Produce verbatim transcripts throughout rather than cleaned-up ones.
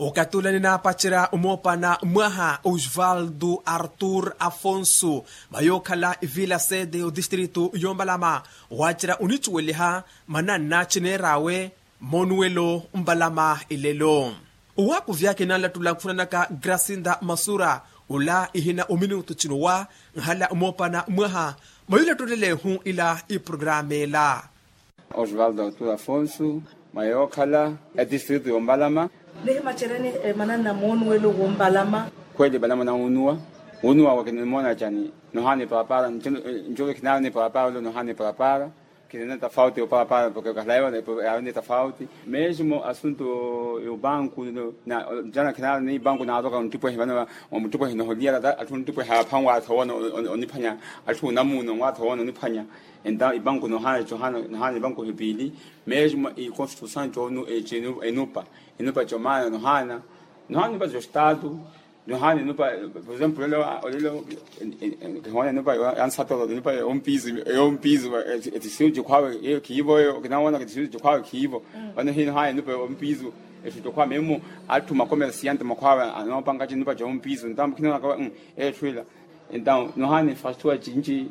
Okathi ula ninaapacerya omoopana mwaha osvaldo artur afonso, mayookhala ivila sede otistritu yombalama, waacerya onicuweliha mananna cineer'awe moonuwelo mbalama ilelo. Owaakuvyaka enanlattula nkhunanaka grasinda masura, ula ihina ominutu cinowa nhala omoopana mwaha, mayulattolela ehu ila iprogrameela. Osvaldo artur afonso, mwa yookhala etistritu yombalama. Nihimaceryani mananna moonuwelo wombalama. Khweli mbalama nawunuwa. Wunuwa wa kinimoona cani? Nohaana iparapaara. Ncuve kinaari ni parapaara olo nohaana iparapaara. Kinene tafauti oparapaara porke kahalaiwa yaari ni tafauti. Mesmo asunto yobanku, jana kinaari ni banku naaroka onttipwehi vano, omutipwehi noholiyala atthu onttipwehi apha nwatho woona oniphwanya. Atthu onamuuna nwatho woona oniphwanya. Entaw ibanku nohaana cohaana nohaana ibanku hipiili. Mesmo ikonstituisaw co enupa enupa comaana nohaana nohaana inupa costatu. Nohaana inupa por exemplo olelo olelo kihoona inupa yansatolo inupa yompisu yompisu. Etisiru cikhwawe eyo khiivo eyo kinawoona etisiru cikhwawe khiivo. Vano hinohaana inupa yompisu. Ethu cokhwawe memu atthu makomersiante makhwawe anoopanga cinupa compisu ntambo khinoona kawa. Etthu ila. Entaw nohaana infrastructure cinci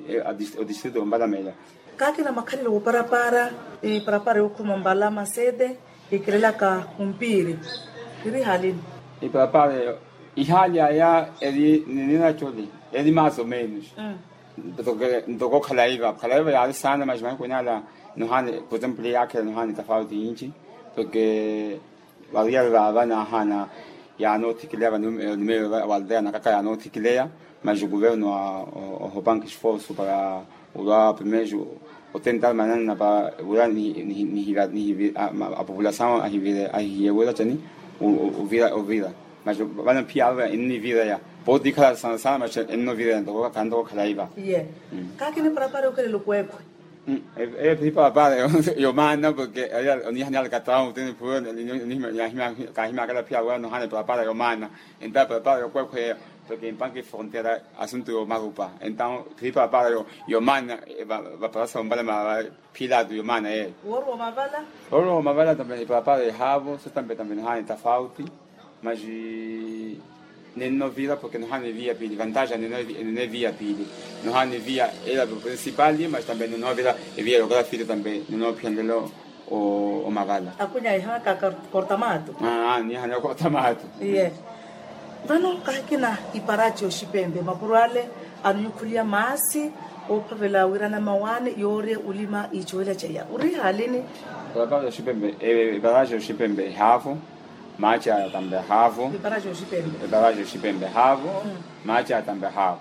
odistritu ombalamela. Kaakina makhalelo woparapaara iparapaara yookhuma mbalama sete ikirelaka ompiiri. Iri halini? Iparapaara eyo ihaali aya eri ninina coli eri maso menus. Ntoko khalaiva khalaiva yaari saana mas mahiku inaala nohaana por exemplo yaakhela nohaana itafauti yinci. Porke variyari vaava nahaana yaanoothikileya vanimeiwe valdeya nakaka yaanoothikileya. Mas oguvernu ohopanka esforsu para olwa primeiro otentar mananna para wira nihivira apopulasaw ahihiye wira cani ovira ovira. Mas vano phiya ava ennivireya pootikhala sana sana mas ennovireya ntoko khantoka khalaiva. Iye. Kaakini parapara yokelela okweekhwe. Eyo phiipapara yomaana porke oniihani alakataamu tini phuwe. Kaahimyakela phiya wira nohaana epapara yomaana. Entawo epapara yokweekhwe eyo porke empanka efronteira asuntu yomarupa entawo phiipapara yomaana. Vaparasa ombalama va phiilatu yomaana yeyo. Woruwa omavala tambe epapara ehaavo so tambe tambe nohaana etafauti. Mas nennovira porke nohaana eviya piili vantaja nennovira piili. Nohaana eviya ela principali mas tambe nennovira eviya yookala fiili tambe nennoophiyanlelo omavala. Akunya iha kakortamatu. Niha nyokortamatu. Iye. Vano kahikina iparaci oxipembe mapuro ale anonyukhuliya maasi oophavela wira namawaani yoorya olima iicuwela caiya ori halini? Iparaci oxipembe iparaci oxipembe ehaavo. Maaci aya tambe haavo. Iparaci oxipembe haavo. Maaci aya tambe haavo.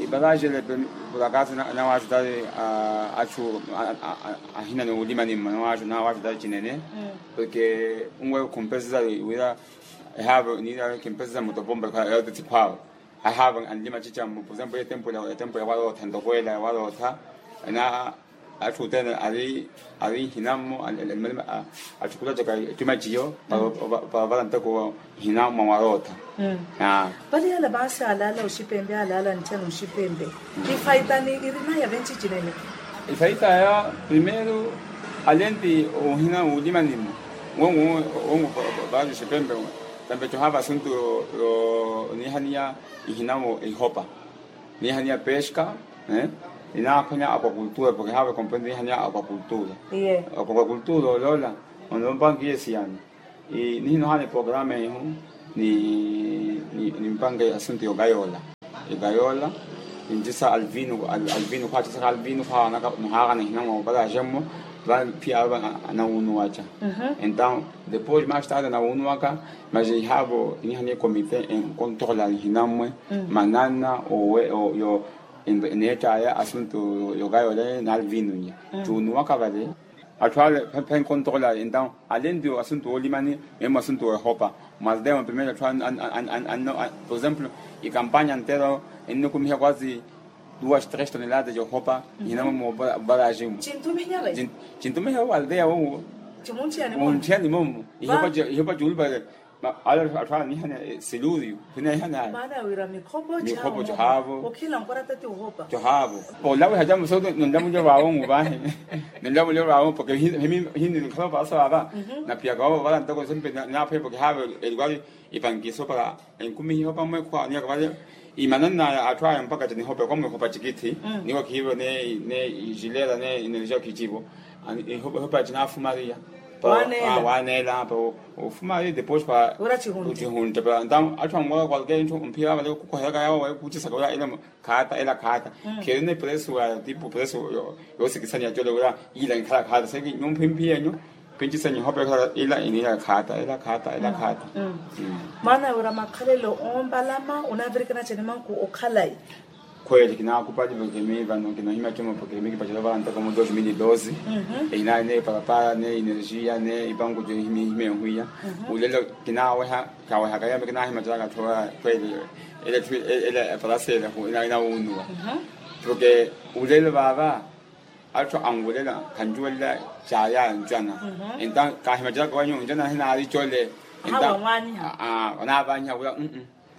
Iparaci ele purakaasi nawaaxutari achu ahina ni ulima nimmo nawaaxutari cinene. Porke unwe khumpesisa wira ehaavo niira khumpesisa mutopomba yootithikhwaawe. Ahaavo anlima cicammo por exemplo etempo ya warootha ntoko ela ya warootha. Ena atthu othene ari nhinammo atthukula caka ecuma ciyo. Para ovara ntoko nhinammo mwa warootha. Vale yala maasi alaala oxipempe alaala ntthena oxipempe. Ifaitani irinaya venci cinene? Ifaitaya primeiro alenti ohina ulima nimmo. Wongo wongo vale oxipempe tambe cohava asuntu yo niihaniya ihinawo ihopa. Niihaniya pesca. Inaakhwanya aquacultura porke haava ekomprende niihaniya aquacultura. Aquacultura oloola onompankiye siyani. Nihinohana eprograma ehu nimpanke asuntu yogayola. Igayola. Nintisa alvino alvino khwatisa alvino khwawanaka nohaakana ihinawo oparaxemmo. Vano phiya ava anawunuwaca. Entawo depois mais tarde anawunuwaka. Mas ihaavo inihaniye komite enkontrola ihinammwe manana owe yo neett'aya asuntu yogayola nalvino nnya. Cuunuwaka vale atthu ale phenkontrola entawo alenti asuntu oolimani. Memu asuntu oohopa mwaldeya mwa primeiro atthu anno por exemplo ikampanya ntero ennikumiha kwasi duas tres toneladas yohopa. Ihinamwe mubaraximwe cintumihewo waldeya wowo. Munthiyani momo ihopa cuulupale. Ala atthu anihana siluriyu. Khunihana maana ya wira mikhopho. Mikhopho cihaavo. Okhila nkorata ti ohopa cihaavo. Olawiha camuso nonlamuliwa vaawo ngu vaahi. Nonlamuliwa vaawo poke hini nikhala opasa vava. Napiyaka vavo vala ntoko sempe naaphoye poke haavo. Elikwali ipankiso para enkumi hihopa mwekhwa niyaka vale. Imananna atthu aya mpakha ca nihopa kwa mwehopa cikithi. Niwo khiivo ne jilera ne energia khijivo. Ihopa cinafumariya. Waneela pa ofumariya depois pa. Ntao atthu anwaka kwalkeya inthu mphiya vale kukoheraka yawo waye kucisaka wira ila khaata ila khaata. Khirina ipresu wa tipu presu. Yoosikisaniya cole wira ila nkhala khaata seki nyumphi mphiyenyu. Pinci senyu hope khala ila iniya khaata ila khaata ila khaata. Maana wira makhalelo oombalama onavirikana cani manku okhalayi. Khweli kinaakupali vakemi vano kinohimya cuma vakemi kipacela vantaka mu dos mil e doze. Einayi ne parapara ne energia ne ipanku jo himya ehwiya. Ulelo kinaaweha kawehaka yame kinaahimya caka thowa. Khweli ele parasele hu inawunuwa. Porque ulelo vava atthu anwulela khanjuwelela caya ncana. Enta kahimacelaka wanyu ncana hinaari cole. Enta anavanyiha wira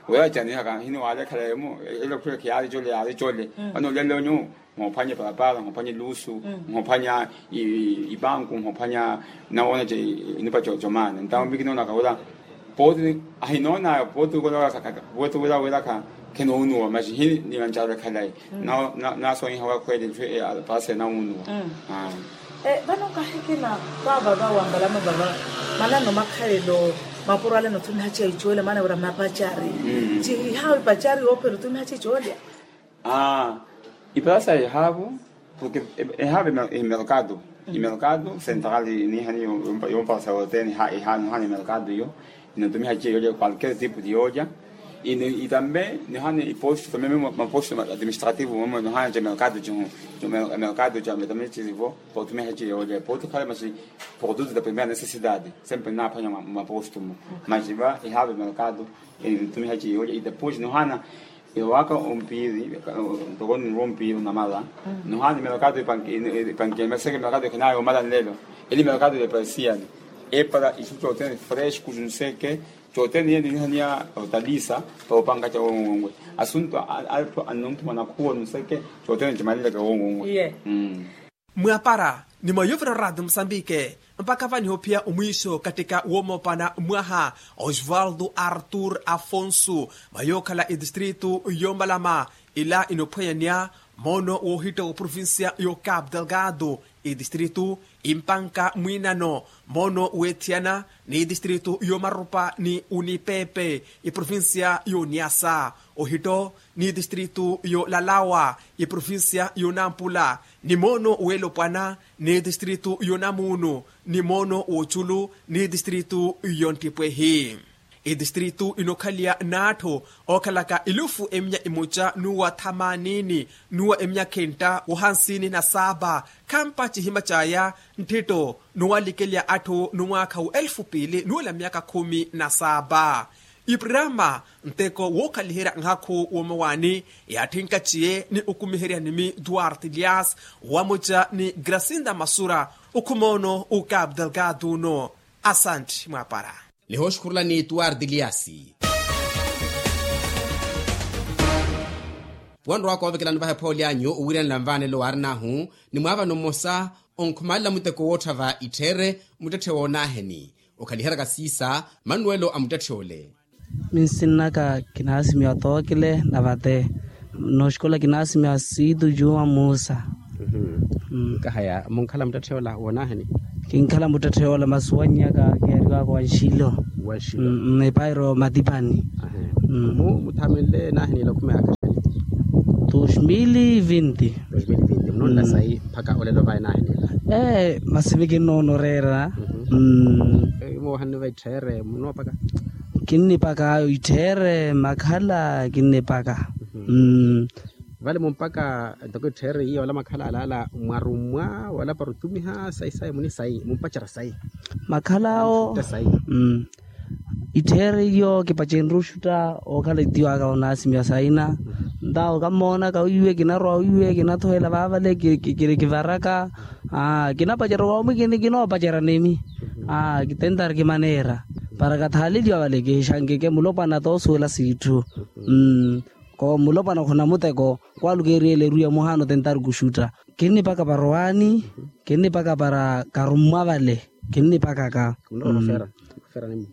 wira canihaka hini waalekhala emu. Ele khwira khiyaari cole yaari cole. Vano lelo nyu. Nhophwanya epalapala nhophwanya elusu. Nhophwanya ipanku nhophwanya nawoonace inupa comana entawo mvikinoonaka wira. Pooti ahinoonaya pooti wira wiraka khenoowunuwa masi hini nivancarale khalayi. Naasonyiha wakhweele etthu eya paasi enawunuwa. Vano kahikina vava vawambalama vava manano makhalelo mapuro ale nothumiha ciya icoolya maana wira mapacari. Cihihawe ipacari yoophera othumiha ciya icoolya. Iparasa ehaavo. Porque ehaavo emerkado imerkado sentral nihani yompasa yote nihani emerkado iyo. Inotumiha ciya yoolya kwalker tipo de yoolya. Itambe nihani iposto tambe memo maposto administrativo memo nihani ca merkado cihu. Merkado ca tambe cisivo potumiha ciya yoolya potukhala masi. Produto da primeira necessidade sempre ninaphwanya maposto mo. Masi va ihaavo emerkado. Inotumiha ciya yoolya idepois nihana. Ewaka ompiiri ntoko ninrwa ompiiri namala. Nohana imelakatu ipankiya imaseke imelakatu ekhinayo omala nlelo. Ili imelakatu eparisiyani epara isu cotene fresco junseke. Cotene yene nihaniya otalisa. Para opanka ca wongonwe asuntu. Athu anonthumana khuwo nuseke cotene cimalileke wongonwe. Mwapara ni mwa yovira orati musambike. Mpakha vaniho phiya omwiiso kattika woomopana mwaha osvaldo artur afonso mwa yookhala etistritu yoomalama. Ila inophweyanya moono woohitta wa provincia yo capu delgado. Etistritu impanka mwiinano moono weethiyana ni etistritu yoomarupa ni unipepe. Iprovincia yo niasa ohitto ni tistritu yo lalawa iprovincia yo nampula ni moono weelopwana ni tistritu yo namuunu ni moono wooculu ni tistritu yo nttipwehi. Itistritu inookhaliya n'atthu ookhalaka ilufu eminya imoca n'uwa thamanini n'uwa eminya khintta wohansini na saapa. Khampa cihima caya nttitto n'uwalikeliya atthu n'umwaakha wa elfu piili n'ula myaakha khumi na saapa. Iprama nteko wookhaliherya nhakhu woomawaani yaatthi nkaciye ni okumiherya nimi duarte lias wamuca ni grasinda masura. Okhumoono ukapu delgado uno. Asantti mwaapara. Nihooxukhurulani tuwarti liasi. Wanrowa koovekelani vahe phooli anyu owiriyanela nvaanelo waarinahu ni mwaavano mmosa onkhumalela muteko woottha va ittheere muttetthe woonaaheni okhaliheraka siisa manuwelo a muttetthe ole. Minsinnaka kinaasimiwa tookile na vate. Nooxikola kinaasimiwa siitu juwa muusa. Nkahaya munkhala muttetthe ola woonaaheni. Kinkhala muttetthe ola masi wannyaka kiyariwaka wa nxilo. Wa nxilo. Epairo matipani. Mu muthaamenle naaheni ila okhumeya akaxani. Dos mil e vinte. Dos mil e vinte munonla sayi mpakha olelo vayi naaheni ila. Ee masi vi kinnoonoreera. Moohanni va ittheere munoopaka. Kinnipaka ittheere makhala kinnipaka. Vale mumpaka ntoko ittheere iya wala makhala alaala mwarummwa wala para otumiha sayi sayi muni sayi mumpacerya sayi. Makhala awo. Ittheere iyo kipacenrye oxutta ookhala itiwaka onaasimiwa sayina. Ntawo kammoonaka wiiwe kinarowa wiiwe kinathohela vaavale kiri kivaraka. Kinapacerya womwi kini kinoopacerya nimi. Kitentari kimaneera. Para kathaaleliwa vale kihixankeke mulopwana toosuwela siitthu. Ko mulopwana okhona muteko kwalukeeriyela eruya muhaano tentari kuxutta. Kinnipaka para owaani, kinnipaka para karummwa vale. Kinnipakaka.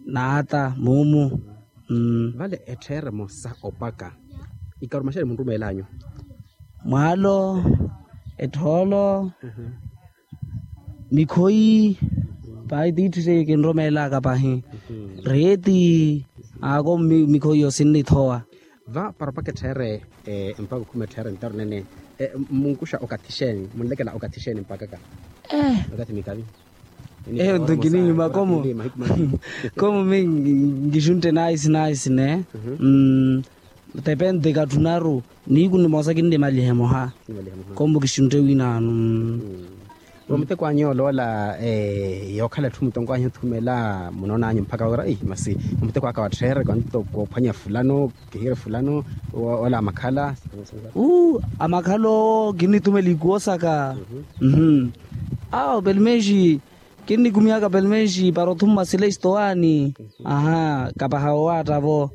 Naata muumu. Vale ettheremo sa opaka ikarumaxani munrumeelanyu? Mwaalo, ethoolo, mikhoyi. Pahi tiitthu seiyo kinromeelaka pahi. Reeti. Ako mikhoyi yo sinnithowa. Va para opaka etthere mpaka okhuma etthere ntaro nene. Munkuxa okathi xeeni munlekela okathi xeeni mpakaka? Okathi mikavi. Eyo nto nkinihima komo. Komo mi nkixuntte naisi naisi ne. Tepente katthunaru. Niiku nimosa kinnimaliha emoha. Komo kixuntte winaano. Omuteko anyu oloola yookhala etthu mutonko anyu othumela munoonanyu mpakha wira masi omuteko aka wattheereka onto koophwanya fulano. Kihire fulano. Ola amakhala. Amakhala owo kinnitumela ikuwo saka. Awo pelo menshi. Kinnikumihaka pelo menshi para othumma sila estowaani. Aha kapaha wowaatta-vo.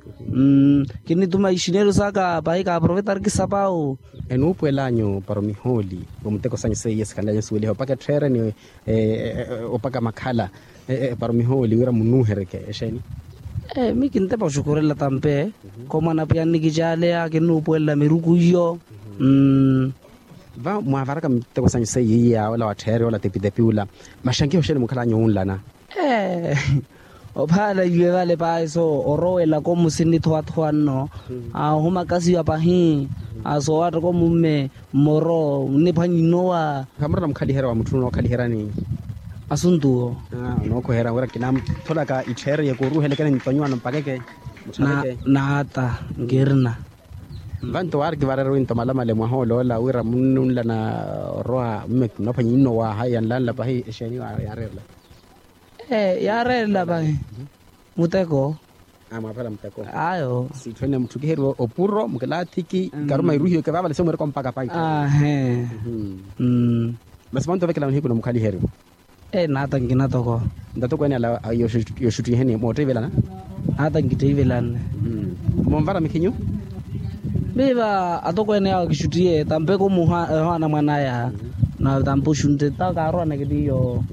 Kinnituma ixinelo saka pahi kaaprovetariki sapawu. Enuupuwel'anyu para omihooli omuteko sanyu seiye sikhanl'anyu osiweliha opaka etthereni. Opaka makhala para omihooli wira munuuhereke exeeni? Mi kintepa oxukhurela tampe. Komwana pwiya nnikicaleya kinnuupuwelela miruku iyo. Va mwaavaraka miteko sanyu seiye iya ola wattheere ola tepitepi ula. Maxankiho xeeni mukhal'anyu wunlana? Ophaala iwe vale paahi so orowelaka omusi nnithowa-thowa nno. Ohuma kasiwa pahi. Soowaattaka omumme mmoro nniphwanya innowa. Khamurana mukhaliherya wa mutthu onookhaliheryani? Asuntuwo. Onookoherya wira kinamutholaka itthereye kooruuhelekeni ntonyiwano mpakeke. Naata nkirina. Vanto waari kivareru winto malamale mwaha oloola wira munnunlana orowa mumme kinaphwanya innowa haya nlanla pahi exeeni yaareerela? Ee yaareerela pahi. Muteko. Ayo siitthu ene mutthu kiheriwa opuro mukilaathiki. Karuma iruhiweke vaavale se mweereka ompaka pahi. Ahe. Masi vanto ovekela nihiku nomukhaliheryo? Ee naata nkina toko. Ntatoko ene ala yoxuttiheni moottiivelana? Naata nkitteivelanne. Monvara mikhinyu? Miiva atokweene yaawo kixuttiye tampeko muha ehowa anamwan'aya. Na tampe oxuntte ta kaarowaneke tiyo.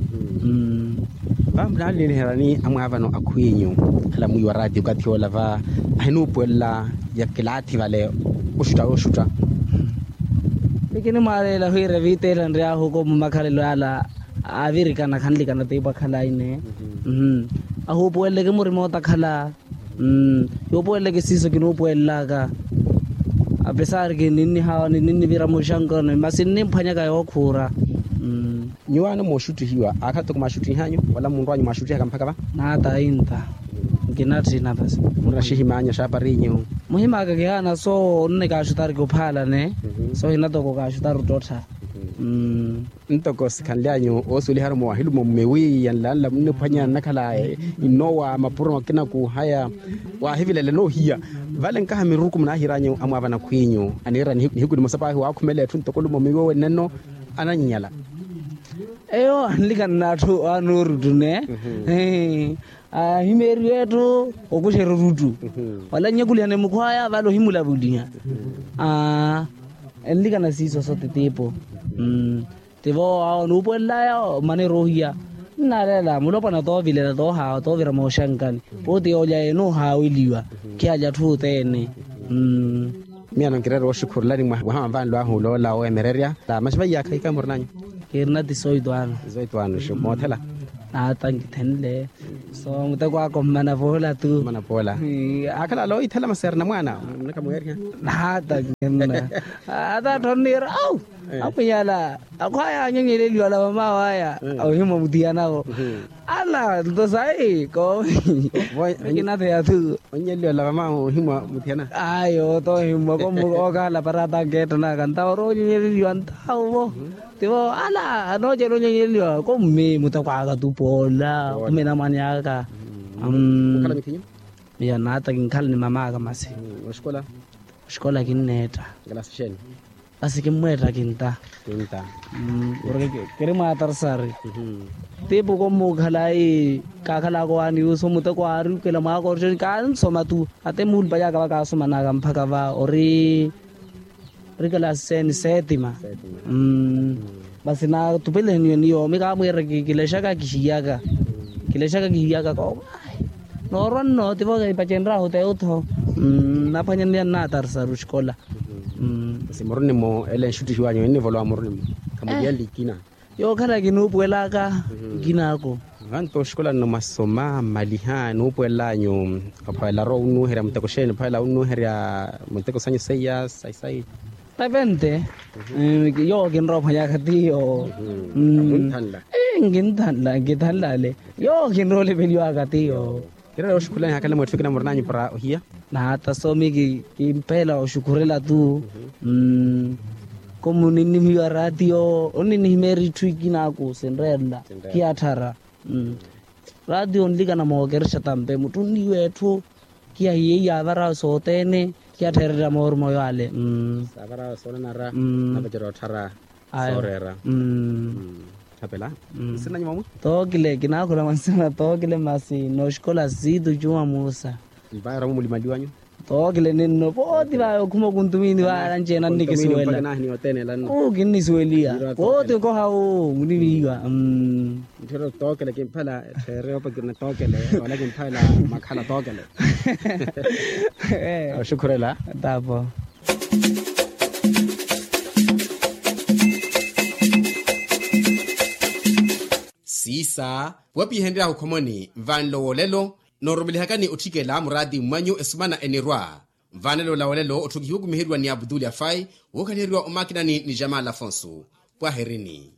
Vamuna alinniherani amwaavano akhwinyu ala mwiiwa raati okathi ola va ahinuupuwelela ya kilaathi vale oxutta oxutta. Mikinimwaaleela wira eviitela nryaahu ko mumakhalelo ala avirikana khanlikana tiipo akhalayi ne. Ahuupuweleleke murima otakhala. Yuupuweleleke siiso kinuupuwelelaka. Apesari kininnihawa nininnivira muxankano masi nnimphwanyaka yookhuura. Nyuwaano mooxuttihiwa aakhala toko maaxuttihanyu wala munrwanyu maaxuttihaka mpakha va? Naata inta. Nkinatthina pasi. Murina axihim'anyu axaaparinyu? Muhim'aka kihaana so onne kaaxuttariki ophaalane. So hina toko kaaxuttari ottottha. Ntoko sikhanly'anyu oosiweliharu mwaahiluma mmewi yanlanla munniphwanya nnakhala innowa mapuro makina kuuhaya. Waahivilela enoohiya vale nkaha miruku munaahiry'anyu amwaavana khwinyu aniira nihiku nimosa paahi waakhumela etthu ntoko olumo miiwo wennenno. Anannyala. Eyo anlikana n'atthu anuuruttu ne. Ahimeeriwa etthu okuxerya oruttu. Wala nnyakulihane mukhwaya vale ohimulavuliha. Enlikana siiso sote tiipo. Tivo awo nuupuwelelaya omana eroohiya. Nnaaleela mulopwana toovilela toohawa toovira mooxankani. Pooti yoolya enuuhaaweliwa. Khiyalya atthu othene. Miyo anonkireera wooxukhurulani mwaha wa vanlu ahu oloola oweemererya. Maxi vaiyaka ikamurinanyu? Kirina ti soito ano. Soito ano xu moothela. Naata nkithenle. So muteko aka ommana poola tu. Ommana poola. Akhala aloithela masi arina mwaana. Naata nkirina. Ata atthonniira au. Akhwiyala akhwaya anyonyeleliwa ola vamaawo aya. Ohimwa muthiyanavo. Ala nto sayi koovi. Kinatheya tu. Onyeleliwa ola vamaawo ohimwa muthiyana. Ayo toohimwa komu okaala para ata nkeettanaka ntawo oroonyonyeleliwa ntawo vo. Tivo ala anoocela onyonyeliwa komme muteko aka tu poola. Khumina mwane aka. Miyo naata kinkhala ni mama aka masi. Oxikola kinneetta. Kalasi xeeni? Masi kimmweetta kinta. Kinta. Mmm. Porke kiri mwaatarsari. Tiipu kommukhala ayi kaakhalaka owaani yuusu muteko aari ukela mwaaka orixoni kaansoma tu. Ate muulupanyaka va kaasomanaka mphaka va ori. Ori kalaasi seeni seetima. Mmm. Masi naatupeleheniwe ni yoomi kaamwiira kilexaka kihiyaka. Kilexaka kihiyaka ko. Noorwa nno tivo kaipacenryahu teutho. Naphwanya nniya nnaatarisari oxikola. Mmm. Masi murunimo ele enxuttihiwanyu ennivolowa murunimo. Khamuliyanle ikina. Yookhala kinuupuwelaka. Nkinaaku. Vanto oxikola nno mwasoma mmaliha nuupuwellanyu. Ophawelarya owunnuherya muteko xeeni ophawelarya owunnuherya muteko sanyu seiya sayi sayi. Epente. Yowo kinrowa ophwanyaka tiyo. Nkinthanla nkithanlale. Yowo kinrowa olipeliwaka tiyo. Kirera oxukhulani hakale mwetthu ekina murinanyu para ohiya. Naata soomi kimpeela oxukhurela tu. Komu ninnihiwa ratiyo onninihimera itthu ikinaku sinreerela. Kiyatthara. Ratiyo onlikana mookerexa tampe mutthu onnihiwa etthu. Kiyahiye iyavarawe sothene. Kiyatthererya mooruma oyo ale. Savarawe soonanara. Napacerya otthara. Soreera. Thapela. Nsinanyu mwamu? Tookile kinaakhula mwansina tookile masi nooxikola siitu cuwa muusa. Mpaya oramu mulimaliwanyu. Tookile ninno pooti vaya okhuma okuntumini vaya nanceena nnikisuwela. Uu kinnisuweliya pooti okoha uu muniviiwa. Ntthiru tookele kimphala ettherere opa kirina tookele wala kimphala makhala tookele. Oxukhurela. Tapo. Siisa wapihenryahu khomoni nvanlo wolelo. Noorumelihakani otthikela muraati mmwanyu esumana enirwa. Nvanelo la wolelo otthukihiwa okumiheriwa ni abutuli afai wookhaliheriwa omakinani ni jamal afonso. Pwaherini.